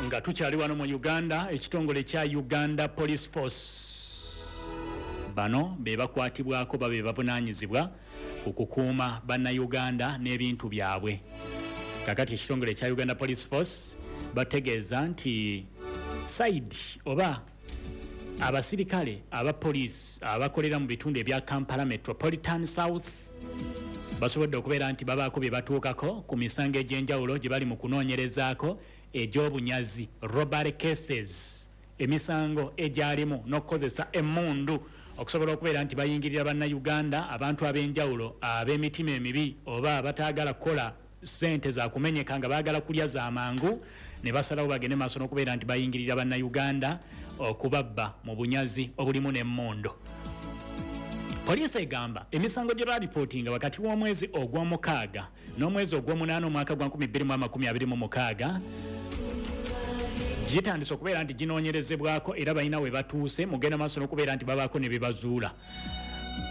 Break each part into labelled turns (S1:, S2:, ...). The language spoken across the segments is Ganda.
S1: Nga tukyali wano mu Uganda, ekitongole kya Uganda Police Force, bano be bakwatibwako, babe bavunaanyizibwa ku kukuuma Bannayuganda n'ebintu byabwe. Kakati ekitongole kya Uganda Police Force bategeeza nti side oba abasirikale aba poliisi abakolera mu bitundu ebya Kampala Metropolitan South basobodde okubeera nti babaako bye batuukako ku misango egy'enjawulo gye bali mu kunoonyerezaako egy'obunyazi, robbery cases, emisango egyalimu n'okukozesa emmundu okusobola okubeera nti bayingirira Bannayuganda, abantu ab'enjawulo ab'emitima emibi oba abataagala kukola ssente za kumenyeka nga baagala kulya za mangu, ne basalawo bagende maaso n'okubeera nti bayingirira Bannayuganda okubabba mu bunyazi obulimu n'emmundu. Poliisi egamba emisango gye balipootinga wakati w'omwezi ogw'omukaaga n'omwezi ogw'omunaana omwaka gwa 2026 gitandise okubeera nti ginoonyerezebwako, era balina we batuuse mugenda maaso n'okubeera nti babaako ne bebazuula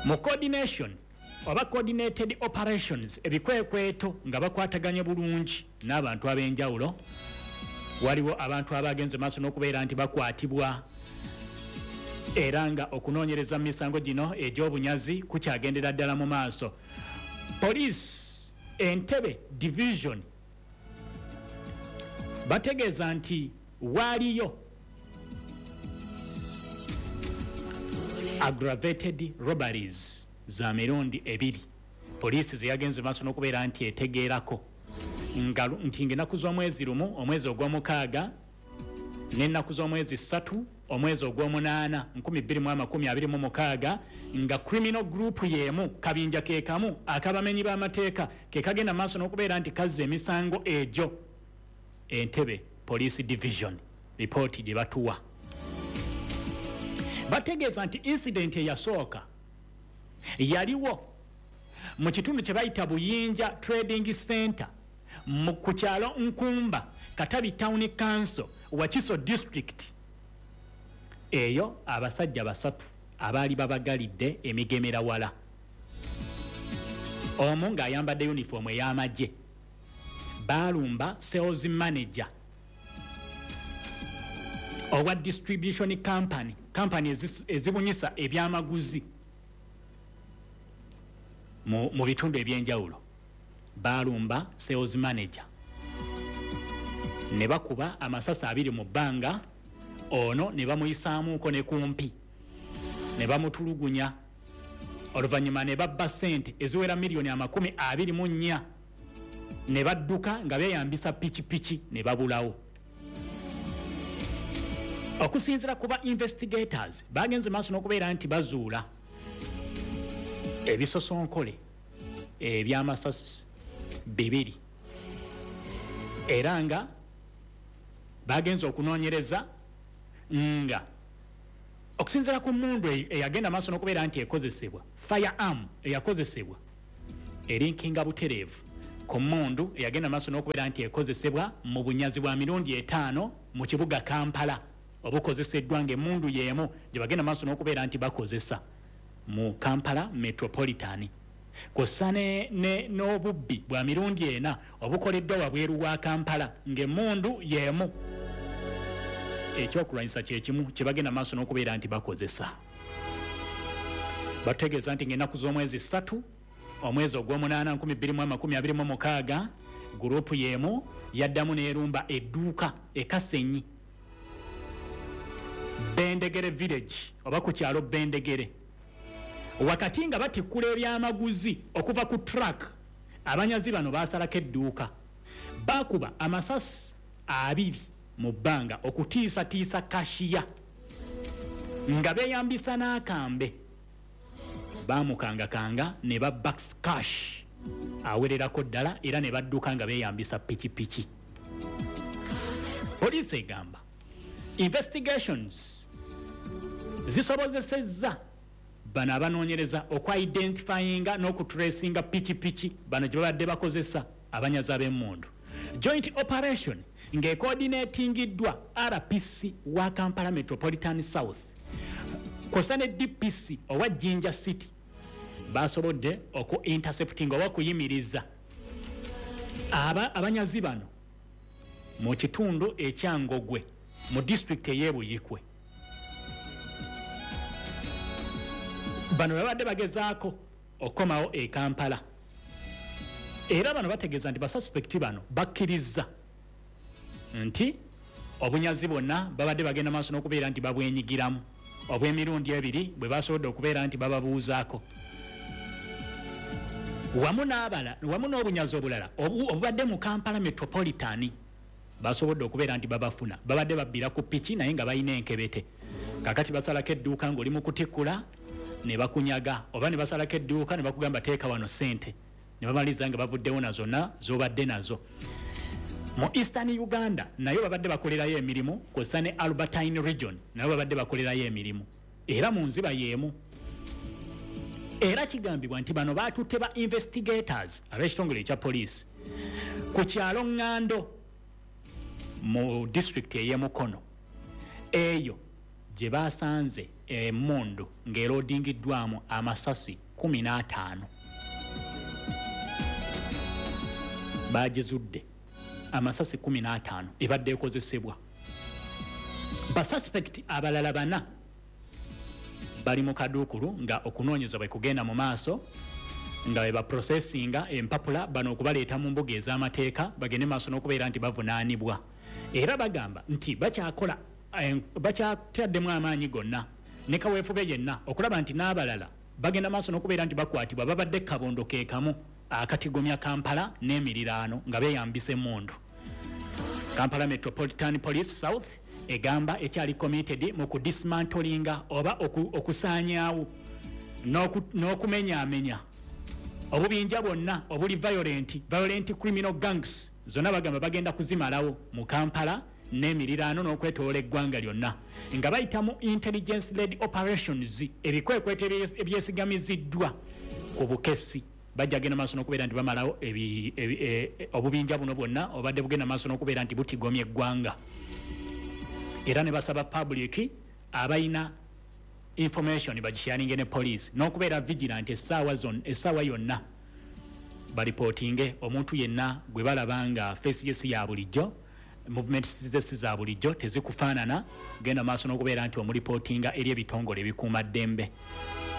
S1: mu coordination oba coordinated operations, ebikwekweto nga bakwataganye bulungi n'abantu ab'enjawulo. Waliwo abantu abagenze maaso n'okubeera nti bakwatibwa, era nga okunoonyereza mu misango gino egy'obunyazi kukyagendera ddala mu maaso. Poliisi Entebe Division bategeeza nti waaliyo aggravated robberies za mirundi ebiri poliisi zeyagenze maaso n'okubeera nti etegeerako nga nti ng'ennaku z'omwezi 1 omwezi ogw'omukaaga n'ennaku z'omwezi 3 omwezi ogw'omunaana 2026, nga criminal group y'emu, kabinja ke kamu akabamenyi b'amateeka ke kagenda maaso n'okubeera nti kazza emisango egyo. Entebe Police Division ripooti gye batuwa bategeeza nti incident eyasooka yaliwo mu kitundu kye bayita Buyinja Trading Center ku kyalo Nkumba, Katabi Town Council, Wakiso District. Eyo abasajja basatu abaali babagalidde emigemera wala, omu ng'ayambadde yunifoomu ey'amagye, baalumba sales manager owa distribution company, company ezibunyisa ebyamaguzi mu bitundu ebyenjawulo. Baalumba sales manager ne bakuba amasasi abiri mu bbanga, ono ne bamuyisaamuuko ne kumpi ne bamutulugunya, oluvannyuma ne babba ssente eziwera miliyoni 24 ne badduka nga beeyambisa pikipiki ne babulawo. Okusinziira ku ba investigators, bagenze maaso n'okubeera nti bazuula ebisosonkole ebyamasasi bibiri, era nga bagenze okunoonyereza nga okusinziira ku mundu eyagenda maaso n'okubeera nti ekozesebwa, firearm eyakozesebwa erinkinga butereevu ku mundu eyagenda maaso n'okubeera nti ekozesebwa mu bunyazi bwa mirundi etaano mu kibuga Kampala obukozeseddwa, ng'emmundu y'emu gye bagenda maaso n'okubeera nti bakozesa mu Kampala Metropolitan, kw'ossa n'obubbi bwa mirundi ena obukoleddwa wabweru wa Kampala, ng'emmundu y'emu, ekyokulwanyisa kyekimu kye bagenda maaso n'okubeera nti bakozesa. Batutegeeza nti ng'ennaku z'omwezi 3 omwezi ogw'omunaana 2026, gurupu y'emu yaddamu n'erumba edduuka ekasenyi Bendegere Village oba ku kyalo Bendegere. Wakati nga batikkula ebyamaguzi okuva ku truck, abanyazi bano basalako edduuka, bakuba amasasi abiri mu bbanga okutiisatiisa cashier nga beeyambisa n'akambe. Baamukangakanga ne babba cash awererako ddala, era ne badduka nga beeyambisa pikipiki. Poliisi egamba investigations zisobozesezza bano abanoonyereza okwidentifyinga n'okutracinga pikipiki bano gye babadde bakozesa, abanyazi ab'emmundu. Joint operation ng'ecoordinatingiddwa RPC wa Kampala Metropolitan South kw'ossa ne DPC owa Jinja City, basobodde oku intercepting oba okuyimiriza abanyazi bano. Mu kitundu ekya Ngogwe mu disitulikiti ey'e Buyikwe. Bano babadde bagezaako okukomawo e Kampala era bano bategeeza nti basuspekiti bano bakkirizza nti obunyazi bwonna babadde bagenda maaso n'okubeera nti babwenyigiramu obw'emirundi ebiri bwe basobodde okubeera nti bababuuzaako wamu n'abala wamu n'obunyazi obulala obubadde mu Kampala Metropolitan. Basobodde okubeera nti babafuna. Babadde babbira ku piki naye nga balina enkebete. Kakati basalako edduuka ng'oli mu kutikkula ne bakunyaga, oba ne basalako edduuka ne bakugamba teeka wano ssente, ne bamaliriza nga bavuddewo na zonna z'obadde nazo. Mu Eastern Uganda nayo babadde bakolerayo emirimu, kw'ossa ne Albertine Region nayo babadde bakolerayo emirimu era mu nziba y'emu. Era kigambibwa nti bano baatutte ba investigators ab'ekitongole ekya poliisi ku kyalo Ngando mu disitulikiti ey'e Mukono, eyo gye basanze emmundu ng'eroodingiddwamu amasasi 15. Baagizudde amasasi 15 ebadde ekozesebwa. Basuspekiti abalala bana bali mu kaduukulu nga okunoonyeza bwe kugenda mu maaso nga bwe baprosesinga empapula bano okubaleeta mu mbuga ez'amateeka bagende maaso n'okubeera nti bavunaanibwa. Era bagamba nti bakyakola bakyataddemu amaanyi gonna ne kaweefube yenna okulaba nti n'abalala bagenda maaso n'okubeera nti bakwatibwa babadde kabondo ke kamu akatigomya Kampala n'emiriraano nga beeyambisa emmundu. Kampala Metropolitan Police South egamba ekyali committed mu kudismantolinga oba okusaanyaawo n'okumenyaamenya obubinja bwonna obuli violent, violent criminal gangs zonna bagamba bagenda kuzimalawo mu Kampala n'emiriraano n'okwetoloola eggwanga lyonna nga bayita mu intelligence led operations, ebikwekweto ebyesigamiziddwa ku bukessi. Bajja genda maaso n'okubeera nti bamalawo obubinja buno bwonna obadde bugenda maaso n'okubeera nti butigomya eggwanga. Era ne basaba public abalina information bagisharinge ne poliisi n'okubeera vigilant essaawa yonna, baripootinge omuntu yenna gwe balaba nga face ye si ya bulijjo, movement ze si za bulijjo, tezikufaanana, genda maaso n'okubeera nti omuripootinga eri ebitongole ebikuumaddembe.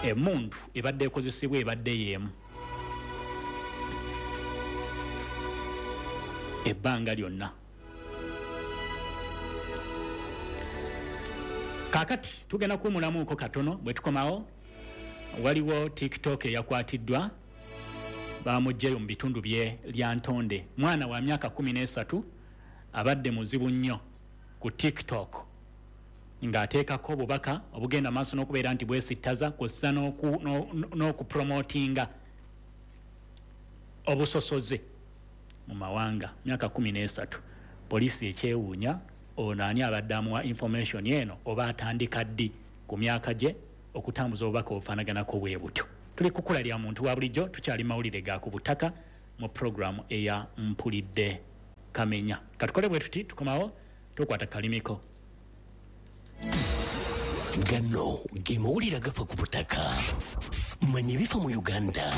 S1: Emmundu ebadde ekozesebwa ebadde y'emu ebbanga lyonna. Kaakati tugenda kuwumulamuuko katono. Bwe tukomawo waliwo TikTok eyakwatiddwa, bamuggyeyo mu bitundu bye Lyantonde. Mwana wa myaka 13 abadde muzibu nnyo ku TikTok ng'ateekako obubaka obugenda maaso n'okubeera nti bwesittaza kw'ossa n'okupromotinga obusosoze mu mawanga. Myaka 13. Poliisi ekyewuunya ono ani abadde amuwa information eno oba atandika ddi ku myaka gye okutambuza obubaka obufaanaganako bwe butyo. Tuli kukula lya muntu wa bulijjo, tukyali mawulire ga ku butaka mu puroguramu eya Mpulidde Kamenya. Katukole bwe tuti, tukomawo tukwata kalimiko.
S2: Gano ge mawulire agafa ku butaka. Manya ebifa mu Uganda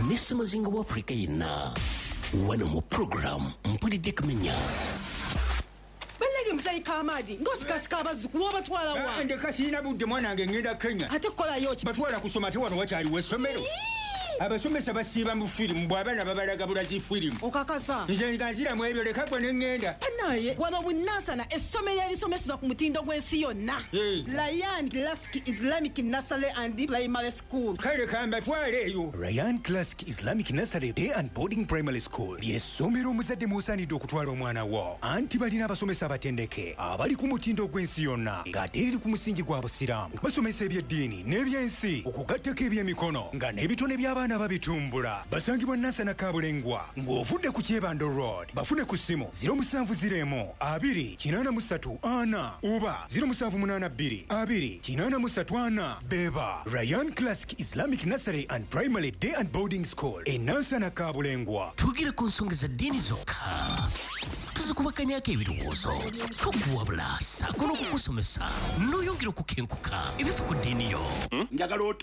S2: ne ssemazinga wa Afrika yenna wano mu puroguramu Mpulidde Kamenya.
S3: Bannange, muzeeyi Kamaadi, ng'osikasika abazzukulu, obatwala wa?
S4: Ndeka, sirina budde, mwana wange, ŋŋenda Kenya.
S3: Ate kukolayo ki?
S4: Batwala kusoma. Ate wano wakyaliwo essomero? Abasomesa basiiba mu firimu, bw'abaana babalaga bulazi firimu.
S3: Okakasa?
S4: Nze nga nziramu ebyo, leka gwe ne ŋŋenda.
S3: Naye wano bunansana essomero erisomeseza ku mutindo gw'ensi yonna, Ryan Classic Islamic Nursery and Primary School.
S4: Kale kambatwale eyo.
S5: Ryan Classic Islamic Nursery Day and Boarding Primary School ly'essomero omuzadde mw'osaanidde okutwala omwana wo, anti balina abasomesa abatendeke abali ku mutindo gw'ensi yonna ng'ate eriri ku musingi gwa busiraamu. Basomesa ebyeddiini n'ebyensi okugattako ebyemikono, nga n'ebitone by'abaana babitumbula. Basangibwa Nansana Kabulengwa ng'ovudde ku Kyebando Road. Bafune ku ssimu 0701 2 83 4 oba 0782 2 83 4. Beba Ryan Classic Islamic Nursery and Primary Day and Boarding School e Nansana Kabulengwa.
S2: Twogera ku nsonga za ddiini zokka. Tuzikubaganyako ebirowoozo, tukuwabula ssaako n'okukusomesa n'oyongera okukenkuka ebifa ku ddiini yo.
S6: Njagala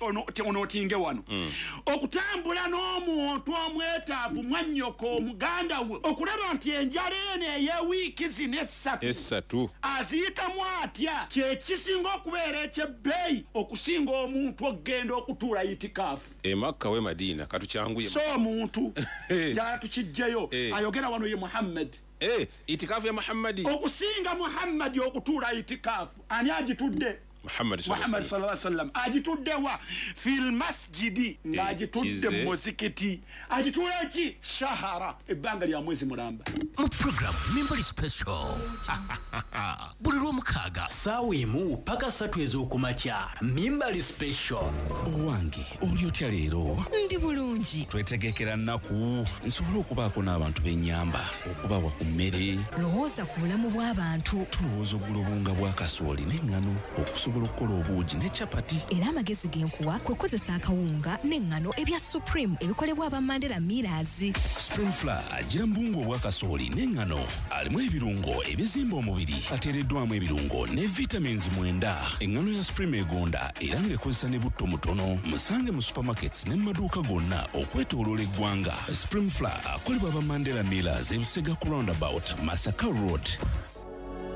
S6: onootinge wano okutambula n'omuntu omwetaavu, mwannyoko, omuganda we, okulaba nti enjala eno ey'ewiiki zino 3
S7: Esatu
S6: aziyitamu atya, kyekisinga okubeera ekyebbeeyi okusinga omuntu okugenda okutuula itikaafu
S7: Emakka we Madiina. Katukyanguye.
S6: So omuntu njagala tukijjeyo. Ayogera wano ye Muhammad.
S7: Itikaafu ya Muhammadi.
S6: Okusinga Muhammadi okutuula itikaafu, ani agitudde?
S7: Muhammad.
S6: Muhammad sallallahu alaihi wasallam agitudde wa fil masjidi, ng'agitudde
S7: Kize.
S6: mu muzikiti. Agituula ki? Shahara, ebbanga lya mwezi mulamba.
S2: Mu program Mimbali Special buli Lwomukaaga
S8: Saawa 1 paka 3 ez'okumakya, Mimbali Special.
S9: Owange, oli otya leero?
S10: Ndi bulungi.
S9: Twetegekera nnaku nsobole okubaako n'abantu b'ennyamba, okubawa ku mmere.
S10: Lowooza ku bulamu bw'abantu.
S9: Tulowooza ogula obuwunga bwa kasooli n'eŋŋano okusobola okukola obuugi ne capati.
S10: Era amagezi ge nkuwa kwe kukozesa akawunga n'eŋŋano ebya Supreme ebikolebwa aba Mandela Millers.
S9: Supreme Flour agira mu buwunga obwa kasooli n'eŋŋano, alimu ebirungo ebizimba omubiri, ateereddwamu ebirungo ne vitamins 9. Eŋŋano ya Supreme egonda era ng'ekozesa ne butto mutono. Musange mu supermarkets ne mu maduuka gonna okwetooloola eggwanga. Supreme Flour akolebwa aba Mandela Millers, Ebusega ku Roundabout, Masaka Road.